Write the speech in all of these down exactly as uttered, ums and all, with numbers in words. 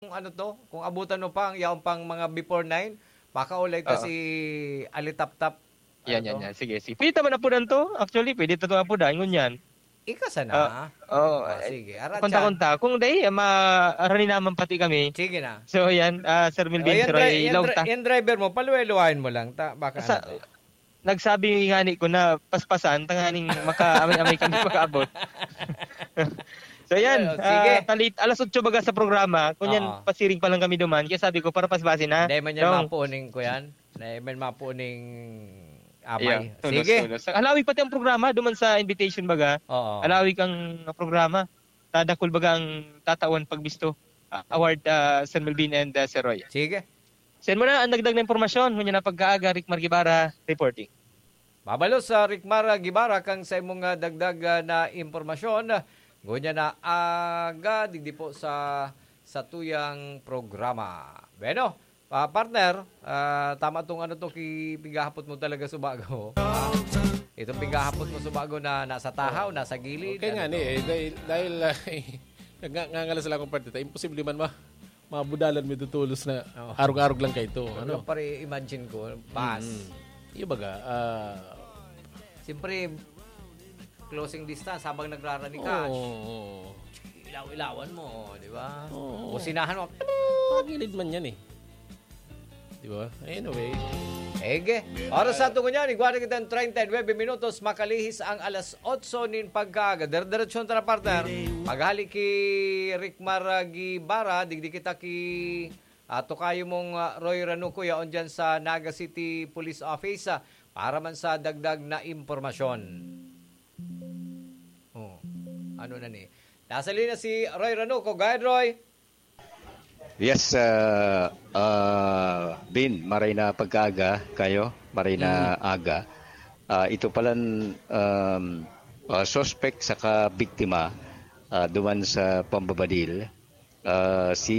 Kung ano to, kung abutan mo pa ang yaon pang mga before nine, makaulay ta Oo. si Alitaptap. Yan, Ano yan, to? yan. Sige, sige. Pwede ta man apudan to. Actually, pwede ta itong apudan. Ngunyan. Ika sana. Ah, oo. Ah, Eh, sige. Arat Kunta-kunta. Kung dai, ah, ma-, arani naman pati kami. Sige na. So, yan. Ah, Sir O, Melvin, yan, Sir dri- Roy, yan, ilaw dri- ta. Yan driver mo, paluway-luwayan mo lang. Ta, baka Sa, ano to? Nagsabi nga ni ko na paspasan, tanganing maka-amay-amay kami makaabot. So, yan. Well, sige. Ah, talit, alas otso baga sa programa. Kung yan, Oo. pasiring pa lang kami duman. Kaya sabi ko, para paspasin na. Dahil man yan Dong. mapuning ko yan. Dahil man mapuning Yeah, amay. tulos, Sige. tulos. Halawi pati ang programa, duman sa invitation baga. Oo. Halawi kang programa. Tadakul baga ang tatawan pagbisto. Ah, award, ah, Sir Melvin and, ah, Sir Roy. Sige. Send mo na ang dagdag na impormasyon. Ngunyan na pagkaaga, Rick Margibara, reporting. Mabalos sa Rick Margibara kang sa imong, ah, dagdag, ah, na impormasyon. Ngunyan na aga, digdi po sa, sa tuyang programa. Bueno, ah, partner, ah, tama tong ano to, ki-, pighahapot mo talaga subago. Ah, itong pighahapot mo subago na nasa tahaw, nasa gilid. Okay ano nga to? ni, eh, dahil, dahil ah, nag- ngangalas lang akong partita, imposible man ma mabudalan mo ito tulos na Oo. arog-arog lang kayo ito. Ano Ano? pa rin imagine ko, bus. Mm. Yung baga, ah, Siyempre, closing distance habang nagrarani ka. oo. Ilaw-ilawan mo, di ba? Oo. Businahan mo. Pagilid man yan eh. Di ba? Anyway. Ege. Oras sa tungo niya, igwa na kitang treinta y nueve minutos, makalihis ang alas otso nin pagkaaga. Dire-diretsyon ta na, partner. Paghali ki Rick Margibara, digdi kita ki, ah, tokayo mong, ah, Roy Ranuco, yaon dyan sa Naga City Police Office, ah, para man sa dagdag na impormasyon. Oh, ano na ni? Nasa linya si Roy Ranuco. Go ahead, Roy. Yes, ah, ah, Bin, maray na pagkaaga kayo, maray na aga. Ah, ito palan um, ah, suspect saka biktima ah, duman sa pambabadil. Ah, si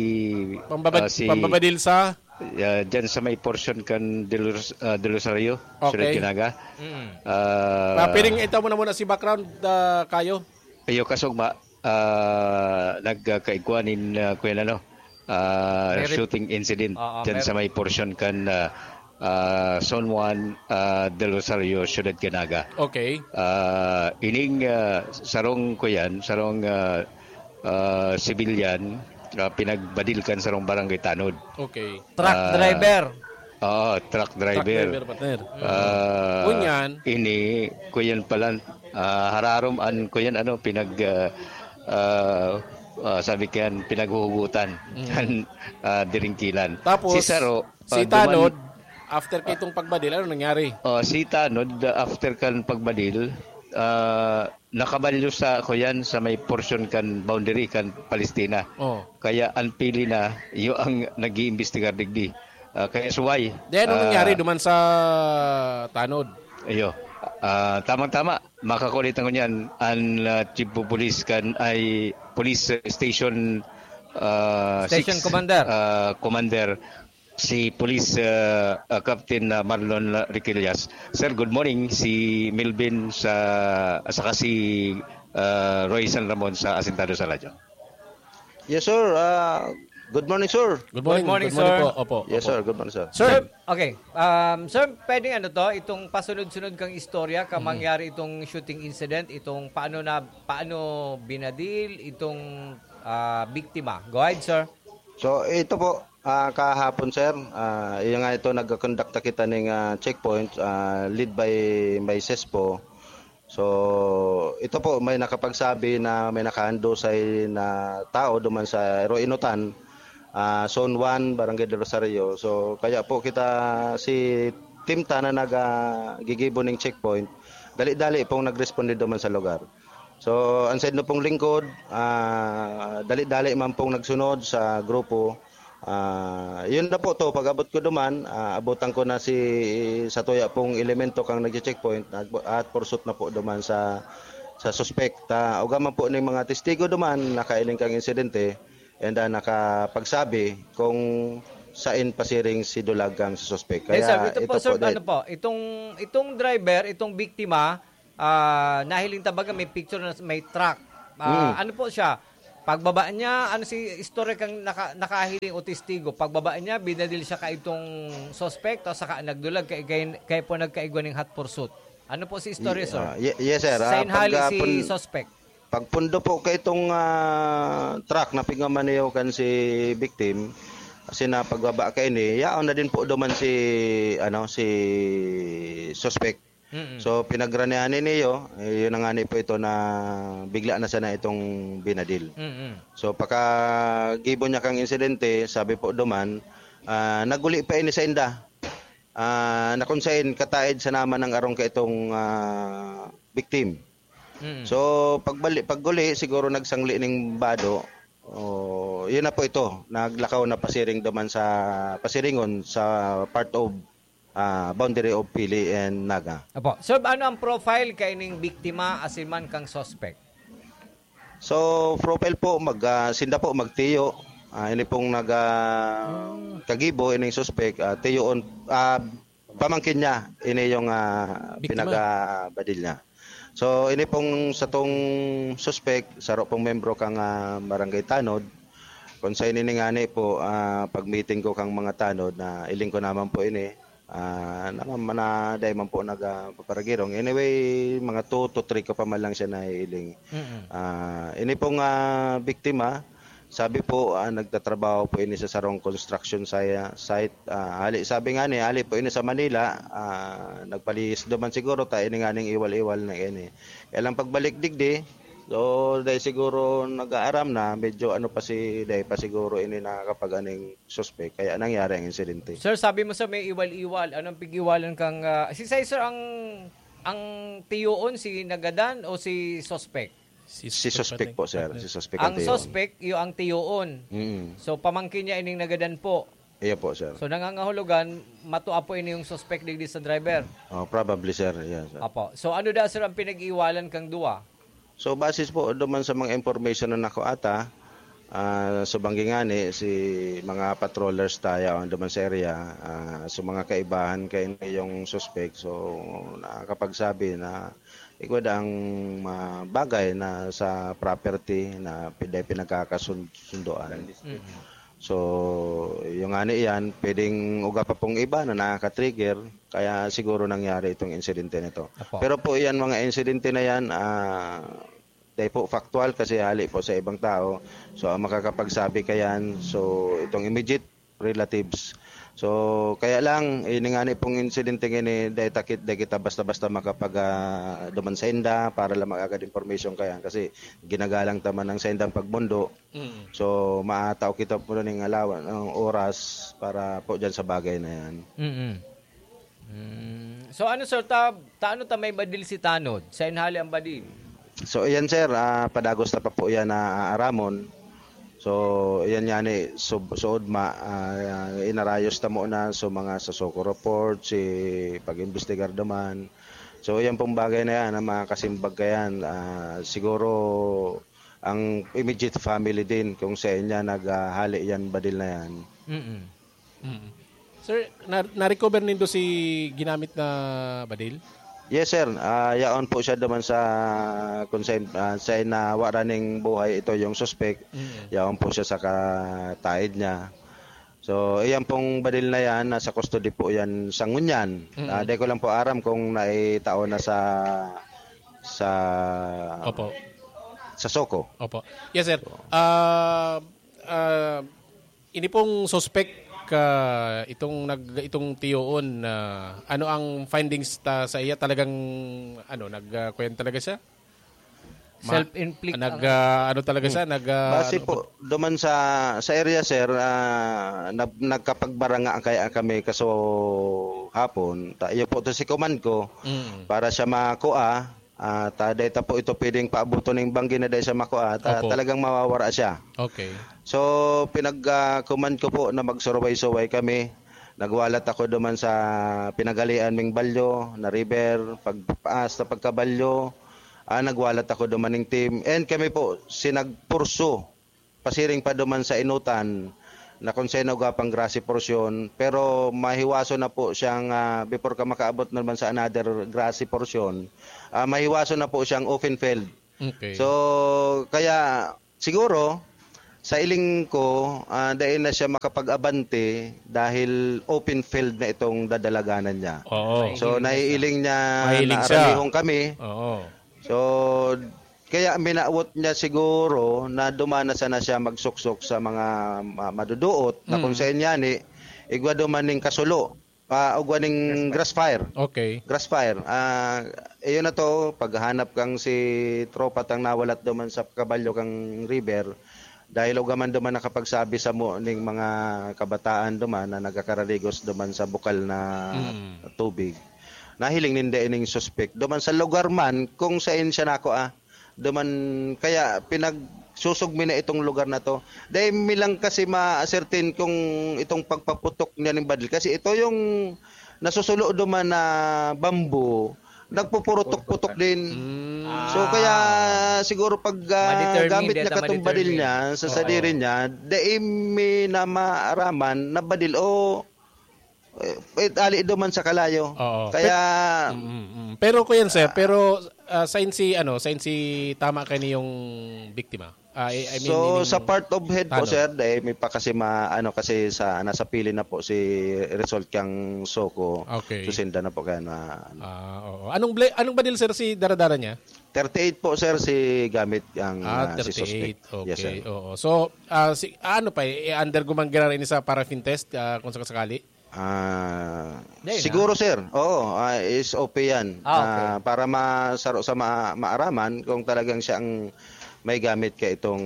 Pambabad- ah, si pambabadil sa? Ah, dyan sa may portion kan Del, Ros- ah, Del Rosario, Okay. Ciudad Canaga. Mm. Ah, Ah, piring itaw mo na muna si background ah, kayo. Iyo kasugma, ah, nagkaigwa nin ah, kuyan ano, ah, May rep- shooting incident Oo, dyan may- sa may portion kan ah, ah, Zone one ah, Del Rosario, Ciudad Canaga. Okay. Ah, ining ah, sarong kuyan, sarong ah, ah, civilian, ah, pinagbadil kan sarong barangay tanod. Okay. Truck Ah, driver. Oo, truck Truck driver. driver, partner. Ah, Kunyan. Ini, kuyan pala, ah, hararom an kuyan ano, pinag, ah, ah, ah, sabi kayan, pinaghuhugutan kan ah, diringkilan. Tapos, si Saro, si ah, duman- Tanod, after kay itong pagbadil, ano nangyari? Oh, si Tanod, ah, after kan pagbadil, ah, nakabalyo sa kuyan sa may portion kan boundary kan Palestina. Oh. Kaya ang pili na, iyo ang nag-iimbestigar digdi. Ah, kaya suway. Then, ano ah, nangyari duman sa Tanod? Iyo. Ah, tamang-tama, makakulit ang kunyan, ang ah, Chief of Police kan ay Police Station ah, Station six, Commander. ah, Commander, si Police ah, ah, Captain ah, Marlon Riquillas. Sir, good morning. Si Melvin sa saka si ah, Roy San Ramon sa Asintado sa Radyo. Yes, sir. Ah, good morning, sir. Good morning, Good morning, good morning sir. po. Opo, Yes, opo. sir. Good morning, sir. Sir, Okay. Um, sir, pwedeng ano to, itong pasunod-sunod kang istorya ka mangyari itong shooting incident, itong paano na paano binadil itong ah, biktima. Go ahead, sir. So, ito po, ah, kahapon, sir, ah, yung nga ito, nag-conduct na kita ng ah, checkpoint, ah, lead by, by SESPO. So, ito po, may nakapagsabi na may nakahandusay na tao duman sa Ero Inutan, ah, Zone one, Barangay del Rosario. So, kaya po kita, si team ta na nag, ah, gigibo ning checkpoint, dali-dali pong nag-responde duman sa lugar. So, ang side no pong lingkod, ah, dali-dali man pong nagsunod sa grupo. Ah, yun na po to, pag-abot ko duman, ah, abutan ko na si sa tuya pong elemento kang nag-checkpoint at, at pursuit na po duman sa sa suspect. Ta, uga man po ning mga testigo duman, nakailing kang insidente and ah, nakapagsabi kung sain pasiring si Dulag kang sa suspect. Yes, sir. Kaya Ito po, sir, dahil- ano po, itong, itong driver, itong biktima, ah, nahiling tabaga may picture na may truck. Ah, Mm. Ano po siya? Pagbaba niya, ano si istorya kang naka-, nakahiling o testigo? Pagbaba niya, binadil siya kaitong suspect, tapos saka nagdulag, kay, kay, kay po nagkaigwa ning hot pursuit. Ano po si istorya, Ye-, sir? ah, ye-, yes, sir. Ah, Sainhali pag, ah, si pun-, suspect. Pagpundo po kaitong, ah, truck na pigmamaneho kan si victim, kasi na pagbaba kaini, yaon na din po duman si, ano, si suspect. Mm. So, pinagranihan ni Neo, eh, yun na nga ni po ito na bigla na sana itong binadil. Mm. So, pakagibo niya kang insidente, sabi po duman, ah, naguli pa ini sa inda. Ah, na kung sain, kataid sa naman ng arong kaitong, ah, victim. Mm. So, pagbali-, pagguli, siguro nagsangli ning bado. Oh, yun na po ito. Naglakaw na pasiring duman sa, pasiringon sa part of, ah, boundary of Pili and Naga. Apo. Sir, ano ang profile kaining biktima asin man kang suspect? So, profile po, mag, ah, sinda po, magtiyo. Ah, ini pong nag, ah, kagibo, ining suspect, ah, tiyoon, ah, pamangkin niya, ini yung, ah, Biktima. pinagabadil niya. So, ini pong satong suspect, saro pong membro kang, ah, Barangay Tanod. Kung sa ini ngani po, ah, pag-meeting ko kang mga Tanod, na iling ko naman po ini, ah, na, na, na, dahil man po nagpaparagirong. Anyway, mga two to three ko pa man lang siya naiiling. Mm. Ah, ini pong, ah, biktima, sabi po, ah, nagtatrabaho po ini sa sarong construction si-, site. Ah, hali, sabi nga ni, hali po ini sa Manila, ah, nagpalihis duman siguro ta ini nganing iwal-iwal na ini. Kaya lang pagbalik digdi, so, dahil siguro nag-aaram na, medyo ano pa si, dahil pa siguro ini nakakapag-aning suspek, kaya nangyari ang insidente. Sir, sabi mo, sir, may iwal-iwal. Anong pig-iwalan kang, ah, si sir, ang, ang tiyoon, si nagadan o si suspek? Si Si suspek suspek po, sir. Si suspek ang Ang tiyoon. suspek, iyo ang tiyoon. Mm. So, pamangkin niya ining nagadan po. Iyo po, sir. So, nangangahulugan, matua po ini yung suspek digdi sa driver. Oh, probably, sir. Yes, sir. Apo. So, ano da, sir, ang pinag-iiwalan kang duwa? So, basis po duman sa mga information na nakuha ta, ah, sa banggi ngani, si mga patrollers tayo ang duman sa area, ah, so mga kaibahan kay yung suspek. So, nakakapagsabi na igwa daang, ah, bagay na sa property na pwede pinagkakasundoan. Mm. So, yung ngani yan, pwedeng uga pa pong iba na nakaka-trigger, kaya siguro nangyari itong insidente na ito. Apo. Pero po yan, mga insidente na yan, ah, dahil po factual kasi hali po sa ibang tao. So, ang makakapagsabi kayan, so, itong immediate relatives. So, kaya lang, ini ngani pong insidente ngini, dahil takit, dahil kita basta-basta makapag, ah, duman sa inda para lang mag-agad information kayan. Kasi ginagalang ta man ang sa indang pagmundo. Mm. So, maatao kita po ning alawan, ang oras para po dyan sa bagay na yan. Mm. Mm. So, ano, sir, ta, ta, ano ta may badil si Tanod? Sa inhali ang badil? So, ayan, sir, ah, padagos na pa po yan na aaramon. So, ayan nga ni, sub-, suod ma, ah, inarayos ta muna, so, mga sa Soko Report, si pag-imbestigar duman. So, yan pong bagay na yan, ang mga kasimbag ka yan, ah, siguro, ang immediate family din, kung sa inya naghahali yan, badil na yan. Mm-mm. Mm. Sir, na, na-recover nindo si ginamit na badil? Yes, sir. Ah, yaon po siya duman sa, kung sa, ah, sa nawara ning buhay, ito yung suspect. Mm. Yaon po siya sa kataid niya. So, iyan pong badil na yan, nasa custody po yan sa ngunyan. Mm. Ah, di ko lang po aram kung naitao na sa, sa, Opo. sa Soko. Opo. Yes, sir. Ah, ah, ini pong suspect, ah, itong nag-, itong tiyoon, ah, ano ang findings ta sa iya? Talagang, ano, nag, ah, kuyan talaga siya? Ma-, Self-inflict nag, ang ah, ano talaga siya? Hmm. Nag, ah, Base ano po, duman sa, sa area, sir, ah, nag-, nagkapagbaranga kaya kami kaso hapon. Ta-, iyo po to si command ko Mm. para siya makua. Ah, ta, dai ta po ito pwedeng paabuton ning banggi na dai siya makua. Ta, Opo. talagang mawawara siya. Okay. So, pinag, ah, command ko po na magsuruway-suway kami. Nagwalat ako duman sa pinagalian ming balyo, na river, pag, hasta pagkabalyo. Ah, nagwalat ako duman ning team. And kami po, sinagpurso, pasiring pa duman sa inutan, na kung sino gapang grassy portion, pero mahiwaso na po siyang, ah, before ka makaabot naman sa another grassy portion, ah, mahiwaso na po siyang open field. Okay. So, kaya siguro, sa iling ko, ah, dai na siya makapag-abante dahil open field na itong dadalaganan niya. Oo. So, Mahiling na siya. naiiling niya Mahiling na siya. aramihon kami. Oo. So, kaya minawot niya siguro na duman na sana siya magsuksok sa mga ma-, maduduot na kung Mm. sa inyani, igwa duman ning kasulo. Ah, ugwa ning grass fire. Okay. Grass fire. Ah, iyon na to, paghanap kang si tropa tang nawalat duman sa kabalyo kang river, dahil ugwa man duman nakapagsabi samo ning mga kabataan duman na nagkakararigos duman sa bukal na Mm. tubig. Nahiling ninda ining suspek duman sa lugar man kung sain siya nako, ah. Duman, kaya pinagsusog mi na itong lugar na to. Dai mi lang kasi ma-ascertain kung itong pagpaputok niya ning badil. Kasi ito yung nasusulo duman na bamboo, nagpupurutok-putok din. Mm. So, Ah. kaya siguro pag, ah, Ma-determine, gamit niya data katong badil ma-determine. niya, sa Oo. sadiri niya, dai mi na maaraman na badil o, eh, eh, ali duman sa kalayo. Oo. Kaya Pe-, mm, mm. Pero, kuyan, sir, Ah. pero, ah, sain si, ano, sain si tama kani yung biktima? Ah, I, I mean, So, meaning sa part of head po, tanod. sir, dai mi pa kasi ma-, ano, kasi sa, nasa pili na po si result kang SOCO. Okay. Susinda na po kaya na, ano. Ah, oo. Anong ble-, anong badil, sir, si daradara niya? Thirty-eight po, sir, si gamit ang, Ah, ah, si suspect. thirty-eight. Yes, Okay, sir. oo. So, ah, si, ah, ano pa, eh, under ko man giraray ni sa paraffin test, ah, kung sakasakali? Ah, Dai na. siguro, sir. Oo, ah, S O P yan. Ah, okay. Ah, para masaro sa ma-, maaraman kung talagang siya ang may gamit ka itong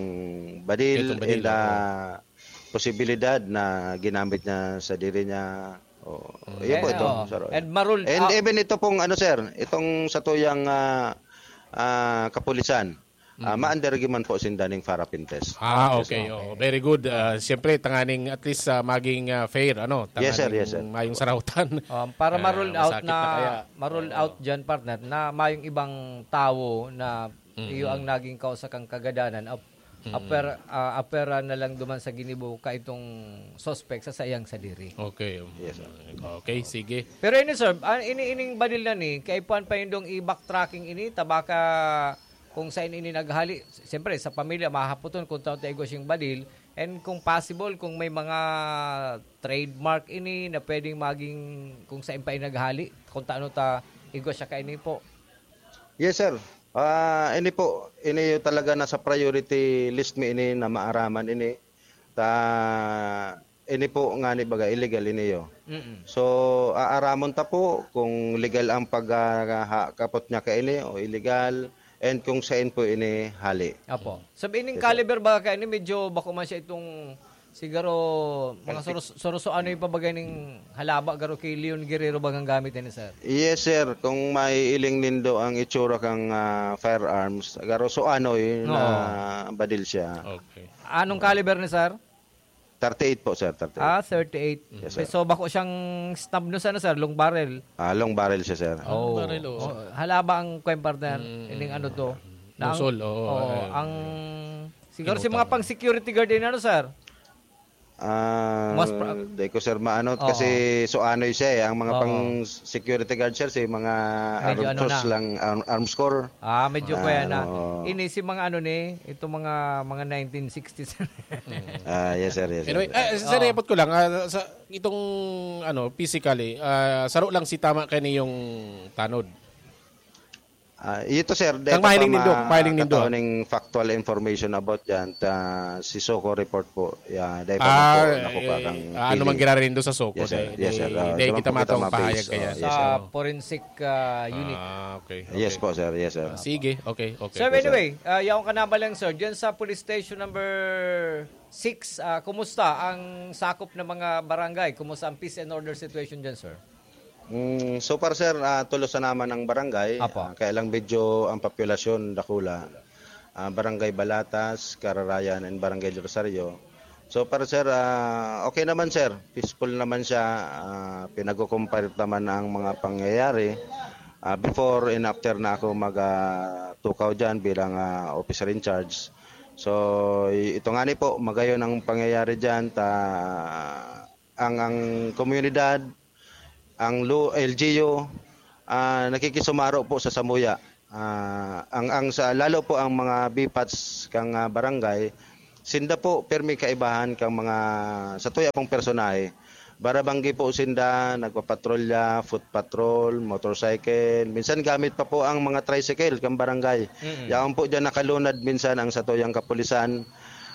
badil, Itong badil, and, oo. ah, posibilidad na ginamit niya sa diri niya. Oo. Mm. Yun po Eh, ito, oo. sir. And marul-, And ah, even ito pong, ano, sir, itong sa tuyang, ah, ah, kapulisan, ah, Mm. ma-under man po sinda ning paraffin test. Ah, Yes, okay. sir. Oo, very good. Ah, siyempre, tanganing at least, ah, maging, ah, fair, ano, Yes, sir. tanganing Yes, sir. mayong sarautan. Um, para Ah, ma-rule out masakit na na, kaya. ma-rule Oo. out dyan, partner, na mayong ibang tawo na Mm. iyo ang naging kausa kang kagadanan, ap-, Mm. aper-, ah, apera na lang duman sa ginibo ka itong suspect sa saiyang sadiri. Okay. Yes, sir. Okay, sige. Pero ini, sir, ah, ini, ining badil na ni, kaipuhan pa nindong i-backtracking ini, ta baka kung sain ini naghali. Siyempre, sa pamilya, mahahapoton kung tao ta igwa siyang badil. And kung possible, kung may mga trademark ini na pwedeng maging kung sain pa ini naghali, kung taano ta igwa siya kaini po. Yes, sir. Ah, ini po, ini yung talaga nasa priority list mi ini na maaraman ini. Ta, ini po ngani baga illegal ini yo. Mm-mm. So, aaramon ta po kung legal ang pag, ah, ha-, kapot niya kaini o illegal, and kung sain po ini hali. Apo. Sabi ining Yes, sir. caliber baga kaini, medyo bako man siya itong siguro mga Thirty. surus-, suruso ano yung pabagay ning halaba garo ki Leon Guerrero bagang gamit ini, sir? Yes, sir. Kung maiiling nindo ang itsura kang, ah, firearms, garo so ano yun Oo. na badil siya. Okay. Anong caliber ni sir? Thirty-eight po, sir, thirty-eight. Ah, thirty-eight. Yes, sir. So, bako siyang snub no, sir, no, sir? Long barrel. Ah, long barrel siya, sir. Oh. Long barrel, oo. Oh, halaba ang kwan, partner. Mm. Ining ano to. Na ang, Muzzle, oo, oo, eh. ang, siguro Ano si mga tawag? pang security guard din, ano, sir? Ah, Mas pra- di ko, sir, maano, Oo. kasi so ano siya eh, ang mga Oo. pang security guard, sir, si mga Medyo ano arms na. lang, arm-, arms corps. Ah, medyo Ah, kaya na. oo. Ini si mga ano ni, itong mga, mga nineteen sixties. Mm. Ah, yes, sir, yes, Anyway, sir. ah, sir, Oo. ipot ko lang, ah, sa itong, ano, physically, ah, saro lang si tama kani yung tanod. Ah, ito, sir, dahil Ang mahiling pa nindo, ma-, mahiling nindo. katao ning factual information about yan, ta, si SOCO report po, ya, dahil pa Ah, man po, nakuha eh, kang ah, ano feeling. man ginaranindo sa SOCO, Yes, sir. dahil, Yes, sir. dahil, Ah, dahil di man kita po kita matawag ma-base. pahayag kaya. Oh, yes, Sa sir. forensic, ah, unit. Ah, okay, Yes okay. po, sir. Yes, sir. Ah, sige, okay, okay. Sir, Yes, sir. anyway, ah, yaon ka na ba lang, sir? Diyan sa police station number six, ah, kumusta ang sakop ng mga barangay? Kumusta ang peace and order situation diyan, sir? Mm, so far, sir, ah, tulos na naman ang barangay. Apo. Ah, kaya lang medyo ang populasyon dakula. Ah, Barangay Balatas, Cararayan, and Barangay Rosario. So far, sir, ah, okay naman, sir. Peaceful naman siya. Ah, pinagkukumpara naman ang mga pangyayari, ah, before and after na ako mag, ah, tukaw dyan bilang, ah, officer in charge. So, i-, ito nga ni po, magayon ang pangyayari dyan. Ta-, ang, ang komunidad, ang lu-, L G U, ah, nakikisumaro po sa samuya. ah, ang, ang sa, lalo po ang mga B PATs kang, ah, barangay, sinda po permi kaibahan kang mga, sa tuya pong personahe. Barabanggi po sinda, nagpapatrolya, foot patrol, motorcycle. Minsan gamit pa po ang mga tricycle kang barangay. Mm. Yaon po diyan nakalunad minsan ang satuyang kapulisan.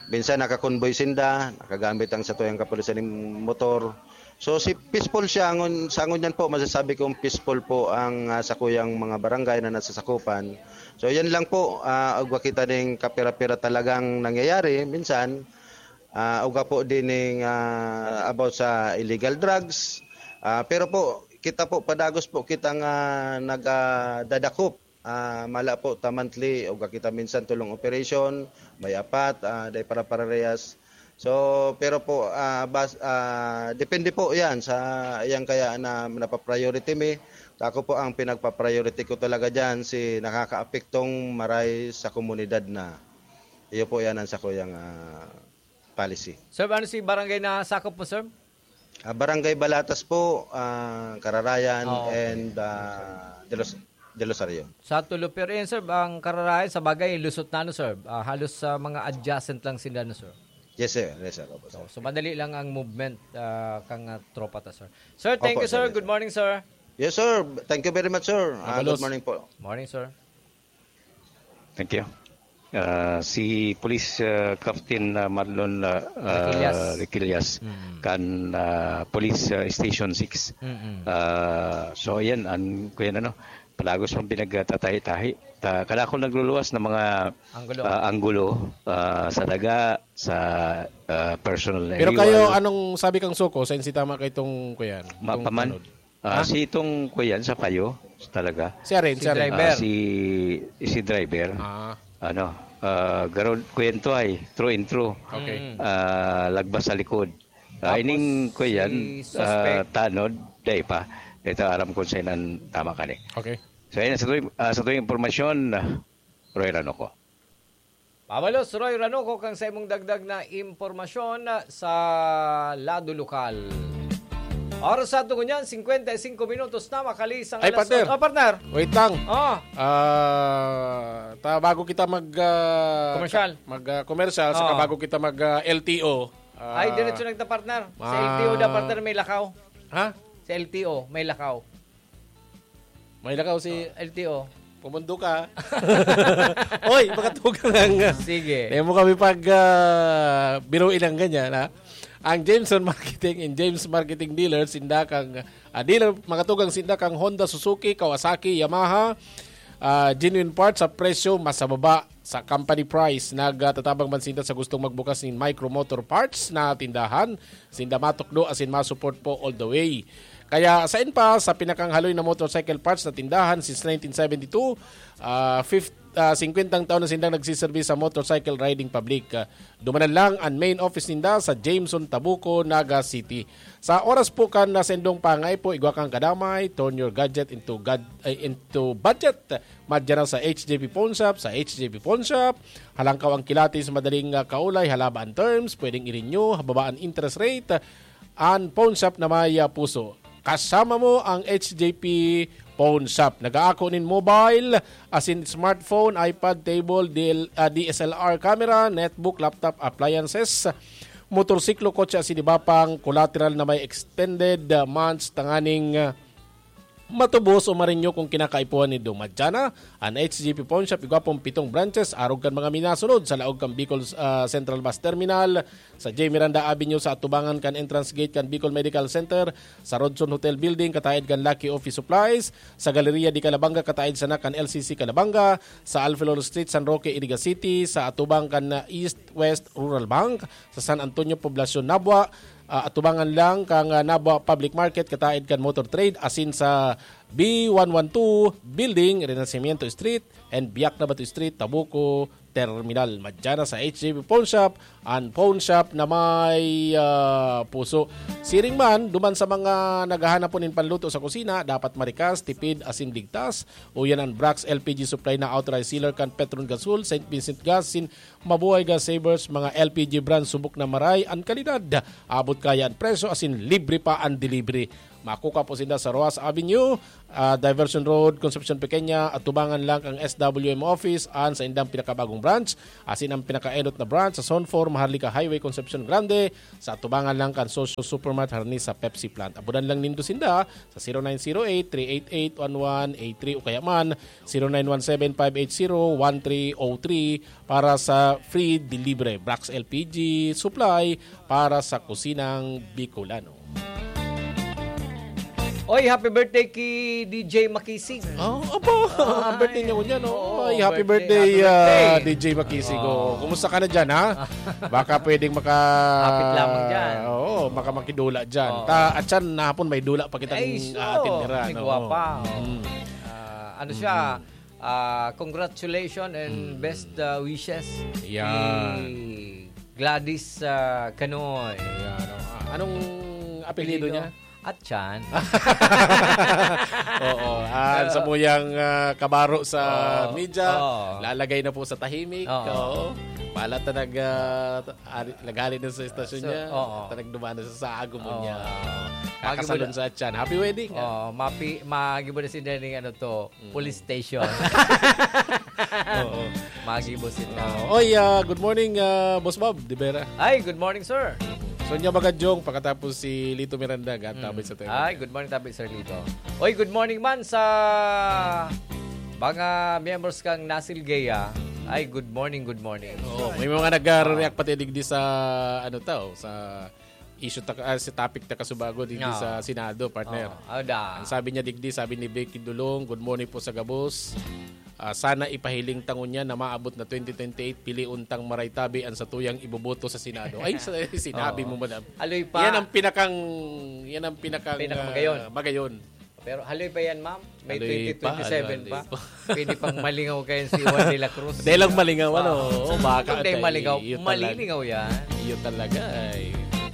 Minsan nakakonvoy sinda, nakagamit ang satuyang kapulisan ng motor. So, si peaceful siya, ngun-, sa ngunyan po, masasabi kong peaceful po ang, ah, sakuyang mga barangay na nasasakupan. So, yan lang po, ah, ugwa kita ning kapira-pira talagang nangyayari minsan, ah, ugwa po din ning, ah, about sa illegal drugs. Ah, pero po, kita po, padagos po kitang, ah, nag, ah, dadakop. Ah, mala po ta monthly, ugwa kita minsan tulong operation, may apat, ah, dai para pararehas. So, pero po, ah, bas-, ah, depende po yan sa, yan kaya na napapriority mi. Ako po, ang pinagpa-priority ko talaga dyan, si nakakaapektong maray sa komunidad na. Iyo po yan ang sakuyang, ah, policy. Sir, ano si barangay na sakop mo, sir? Ah, Barangay Balatas po, ah, Kararayan, Oo. and, ah, De Los-, De Los Arion. Sa Tulupi rin, sir, ang Kararayan, sa bagay, lusot na, ano, sir? Ah, halos sa mga adjacent lang sila, no, sir? Yes, sir. Yes, sir. Opo, sir. So, so, madali lang ang movement, ah, kang, ah, tropa ta, sir. Sir, thank Opo, you, sir. Sir. Good morning, sir. Yes, sir. Thank you very much, sir. Ah, Mabalos. Good morning po. Morning, sir. Thank you. Ah, si Police, ah, Captain, ah, Marlon, ah, ah, Requillas. Requillas, Mm. kan, ah, Police, ah, Station six. Mm-mm. Ah, so, yan, ang, kuya, ano, palagos pang pinagtatahi-tahi. Ta-, kadakol nagluluwas ng mga, Anggulo. ah, anggulo, ah, sa daga, sa, ah, personal Pero area kayo, wall. Anong sabi kang suko? Sa insi tama kay itong, kuyan, Ma-, itong paman? Tanod? Ah, Ha? Si itong, kuyan, sa payo, talaga. Siya rin, Si siya rin. driver. Ah, si, si driver. Ah. Ano, ah, garod, kwento ay, true and true. Okay. Mm. Ah, lagbas sa likod. Ah, Tapos, ining, kuyan, si suspect. Ah, tanod, dai pa. Ito, aram ko sa inan tama ka ni. Okay. So, yan, sa tuwing, ah, sa tuwing impormasyon, ah, Roy Ranoco. Pabalos, Roy Ranoco, kang sa imong dagdag na impormasyon sa lado lokal. Oras sa ato ngunyan, cincuenta y cinco minutos na makalisang Ay, alas partner. Otso. Oh, partner. Wait lang. Oh. Ah, ta, bago kita mag, ah, Commercial. mag, ah, commercial, saka Oh. bago kita mag, ah, L T O, ah, Ay, diretso na kita, partner. Sa ma- L T O da, partner, may lakaw. Ha? Sa L T O, may lakaw. May lakaw si Oh, L T O. Pumundo ka. Oy, makatugang lang. Sige. Dahil mo kami pag, ah, biruin ang ganyan, ha? Ang Jameson Marketing and James Marketing Dealer, sinda kang, ah, dealer, makatugang sinda kang Honda, Suzuki, Kawasaki, Yamaha, ah, genuine parts sa presyo mas sa baba sa company price. Nagtatabang man sinda sa gustong magbukas nin Micro Motor Parts na tindahan. Sinda matukdo asin ma-support po all the way. Kaya sain pa, sa pinakang haloy na motorcycle parts na tindahan since nineteen seventy-two, ah, fif-, ah, singkwentang taon na sindang nagsiserbi sa motorcycle riding public. Ah, dumanan lang an main office ninda sa Jameson, Tabuco, Naga City. Sa oras po kan na sendong pangaipo, igwa kang kadamay, turn your gadget into gad-, ay, into budget. Madya na sa H J P Pawn Shop. Sa H J P Pawn Shop, halangkaw ang kilatis, madaling, ah, kaulay, halaba an terms, pwedeng i-renew, hababa an interest rate, an pawn shop na may, ah, puso. Kasama mo ang H J P Pawn Shop. Nag-aako nin mobile, asin smartphone, iPad, table, D L, ah, D S L R camera, netbook, laptop, appliances, motorsiklo, kotse, asin iba pang collateral na may extended, ah, months tanganing, ah, matubos o marinyo kung kinakaipuhan nindo. Madya na an H J P Pawn Shop, igwa pong pitong branches, arog kan mga minasunod sa laog kan Bicol, ah, Central Bus Terminal, sa J Miranda Avenue, sa atubangan kan entrance gate kan Bicol Medical Center, sa Rodson Hotel Building, kataed kan Lucky Office Supplies, sa Galleria de Calabanga, kataed sana kan L C C Calabanga, sa Alfilol Street, San Roque, Iriga City, sa atubang kan, ah, East West Rural Bank, sa San Antonio Poblacion, Nabua, ah, atubangan lang kan, ah, Nabua Public Market, kataed kan Motor Trade, asin sa B one one two Building, Renacimiento Street and Biak na Bato Street, Tabuco Terminal. Madya na sa H J P Pawn Shop, an pawn shop na may, ah, puso. Siring man, duman sa mga naghahanap po nin panluto sa kusina, dapat marikas, tipid, asin ligtas. Uyan an Brax L P G Supply na authorized sealer kan Petron Gasol, Saint Vincent Gas, sin Mabuhay Gas Savers, mga L P G brand, subok na maray an kalidad, abot kaya an presyo, asin libre pa an delivery. Makukuha po sinda sa Roxas Avenue, ah, Diversion Road, Concepcion Pequeña, atubangan lang kan S W M office, an saindang pinakabagong branch, asin ang pinakaenot na branch sa Zone four, Maharlika Highway, Concepcion Grande, sa atubangan lang kan Socio Supermart, harani sa Pepsi plant. Abudan lang nindo sinda sa zero nine zero eight, three eight eight, one one eight three o kaya man zero nine one seven, five eight zero, one three oh three para sa free delivery. Brax L P G supply para sa kusinang Bicolano. Oy, happy birthday ki D J Makisig. Oh, apo. Ay, birthday niya ngunyan, no? Oo, Ay, happy birthday, birthday, happy ah, birthday. D J Makisig. Oo. Oh, kumusta ka na dyan, ha? Baka pwedeng maka- Kapit lamang dyan. Oo, makamakidula dyan. Oo. Ta, at siyan, na hapon may dula pa kitang Ay, so, atin nira, may no? Guwapa. Mm. Ah, ano siya? Mm. Ah, congratulations and Mm. best, ah, wishes Yan. kay Gladys, ah, Canoy. Yan, oh. Ah, anong apelyido Apelyido? niya? Atyan. Oo, ah, Ah. sa muyang, ah, kabaro sa Oo. media, Oo. lalagay na po sa tahimik. Oo. Oo. Pala ta nag, ah, ari, naghali na sa istasyon So, niya. oo. Ta nagduman na sa saag mo Oo. niya. Magi mo Kakasalon na sa atyan. Happy wedding, ah. Oo, mapi-, magibo na si Nene, ano to, Mm. police station. Oo. Magibo sila. Oo. Oy, ah, good morning, ah, Boss Bob de Vera. Ay, good morning, sir. So, niya baga, Jong, pakatapos si Lito Miranda, gatabay Mm. sa tayo. Ay, good morning, tabi, Sir Lito. Oy, good morning man sa mga miyembros kang Nasil Gea. Ay, good morning, good morning. Oo, may mga nag-react Ah. pati digdi sa, ano tao, sa issue ta, ah, sa topic ta kasubago digdi Oo. sa Senado, partner. Oo. Aw, da. Ang sabi niya digdi, sabi ni Becky Dulong, "Good morning po sa gabos. Ah, sana ipahiling ta ngunyan na maabot na twenty twenty-eight, pilion tang maray tabi an satuyang iboboto sa Senado." Ay, sa, sinabi Oo. mo, madam. Aloy pa. Yan ang pinakang, yan ang pinakang, Pinakamagayon. ah, magayon. Pero haloy pa yan, ma'am. May Haloy pa, twenty twenty-seven haloy pa. pa. Pwede pang malingaw kayo si Juan de la Cruz. Dahil lang malingaw, ano? Oo. Oo, baka Kung dahil tayo, malingaw, iyo talaga. Malilingaw yan. Iyo talaga, ay.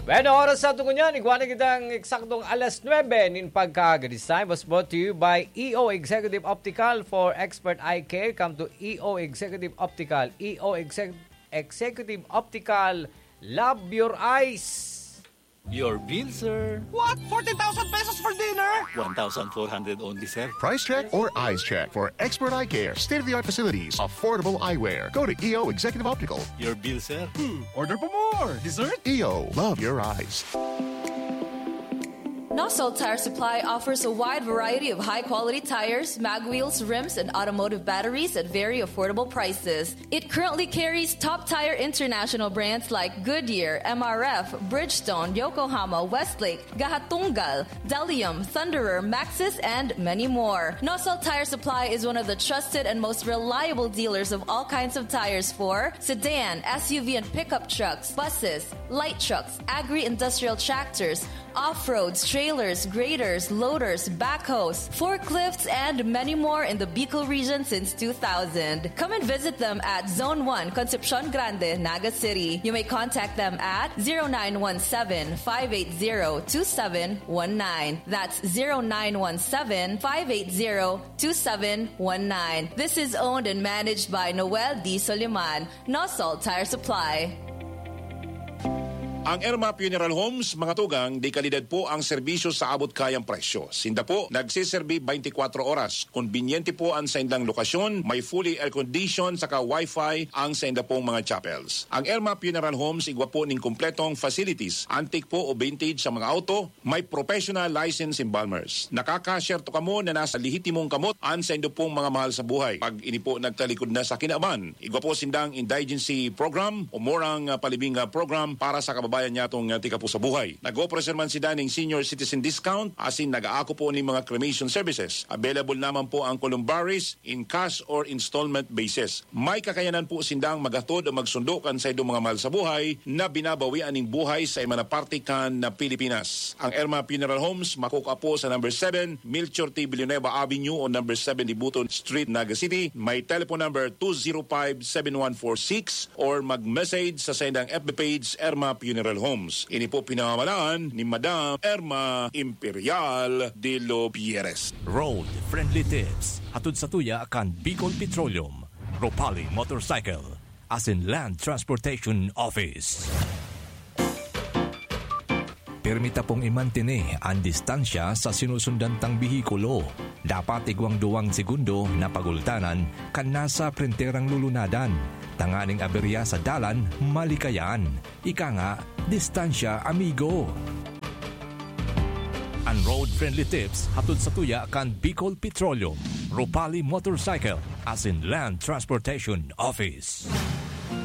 Bueno, oras sa tungo niyan, igwa na kitang eksaktong alas nuebe nin pagkaaga. This time was brought to you by E O Executive Optical for expert eye care. Come to E O Executive Optical. E O Exec-, Executive Optical, love your eyes. Your bill, sir. What? Fourteen thousand pesos for dinner? One thousand four hundred only, sir. Price check or eyes check for expert eye care, state-of-the-art facilities, affordable eyewear. Go to E O Executive Optical. Your bill, sir. Hmm, order pa more. Dessert? E O, love your eyes. Nosol Tire Supply offers a wide variety of high-quality tires, mag wheels, rims, and automotive batteries at very affordable prices. It currently carries top tire international brands like Goodyear, M R F, Bridgestone, Yokohama, Westlake, Gahatunggal, Delium, Thunderer, Maxxis, and many more. Nosol Tire Supply is one of the trusted and most reliable dealers of all kinds of tires for sedan, S U V, and pickup trucks, buses, light trucks, agri-industrial tractors, off-roads, trailers, graders, loaders, backhoes, forklifts, and many more in the Bicol region since two thousand. Come and visit them at Zone one, Concepcion Grande, Naga City. You may contact them at zero nine one seven, five eight zero, two seven one nine. That's zero nine one seven, five eight zero, two seven one nine. This is owned and managed by Noel D. Soliman, Nosol Tire Supply. Ang Erma Funeral Homes, mga tugang, de kalidad po ang serbisyo sa abot kayang presyo. Sinda po nagseserbi twenty-four oras. Kombinyente po ang saindang lokasyon, may fully air-conditioned saka wifi ang sainda pong mga chapels. Ang Erma Funeral Homes igwa po ning kompletong facilities, antique po o vintage sa mga auto, may professional license embalmers. Nakaka-share to kamo na nasa lehitimong kamot an saindo pong mga mahal sa buhay. Pag ini po nagtalikod na sa kinaban, igwa po sindang indigency program o murang, ah, palibing, ah, program para sa kababayan niya tong, ah, tika po sa buhay. Nag-offer man sila ning senior citizen discount, asin nag-aako po ning mga cremation services. Available naman po ang columbaries in cash or installment basis. May kakayanan po sindang maghatod o magsundo kan saindong mga mahal sa buhay na binabawian ning buhay sa iba na parte kan na Pilipinas. Ang Erma Funeral Homes makukua po sa number seven, Melchor T. Villanueva Avenue o number seven Dibuto Street, Naga City. May telephone number two zero five, seven one four six or mag-message sa saindang F B page, Erma Funeral Homes. Ini po pinamamalaan ni Madam Erma Imperial de los Pierres. Road Friendly Tips, hatod sa tuya kan Bicol Petroleum, Ropali Motorcycle, asin Land Transportation Office. Pirmi ta pong imantene an distansya sa sinusundan tang behikulo. Dapat igwang duwang segundo na pagultanan kan nasa printerang lulunadan, tanganing aberya sa dalan malikayan. Ika nga, distansya, amigo. An Road Friendly Tips hatod sa tuya kan Bicol Petroleum, Ropali Motorcycle, asin Land Transportation Office.